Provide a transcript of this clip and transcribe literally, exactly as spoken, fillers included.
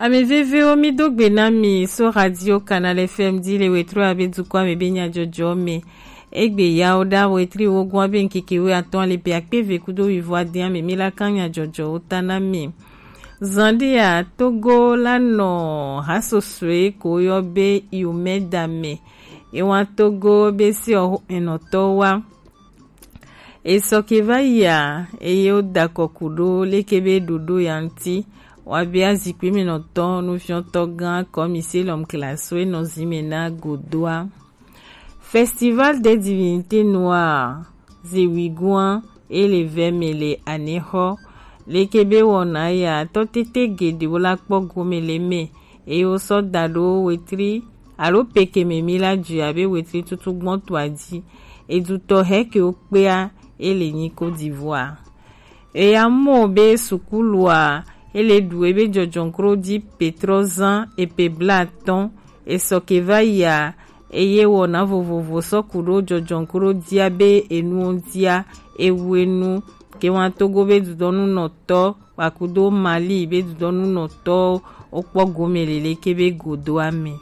Ame vevewo, mi do gbe na mi so Radio Canal F M di le wetro abe dukɔ ame be nyajɔjɔ me. Egbe yawo da wetri wo gwa be nkeke we atɔn ale pe akpe ve kudo wivo ade ame mi la kan nyajɔjɔ wo ta na mi. Zandia Togo la nɔ hasosue ko yɔ be Iomeda me. Ewa Togo be si o enɔtɔ wa. Esɔ ke va yia, eye wodakɔ kuɖo leke be ɖoɖo ya ŋuti. Woabia zikpui me nɔtɔ nufiɔtɔ gã kɔmise lɔm klaso enɔ zime na godoa. Festival des divinités noires, Zewigua, ele vɛ me le anexɔ. Leke be wɔna ya, tɔ tete geɖewo la kpɔ gome le me, eye wosɔ da ɖo wetri alo pekeme mi la dzi abe wetri tutu gbɔntoa dzi. Edutɔ hɛ ke wokpea, ele nyi ko divua. Eya mɔ be sukulua, ele ɖu ebe jɔjɔnkro di Petro zan epe blatɔn, esɔ ke va yia, eye wɔna vovovo sɔ ku ɖo jɔjɔnkro dia be enuwo dia, ewu enu, ke wa Togo be dudɔnu nɔtɔ, kpakudo Mali be dudɔnu nɔtɔ, wokpɔ gome lele ke be godo ame.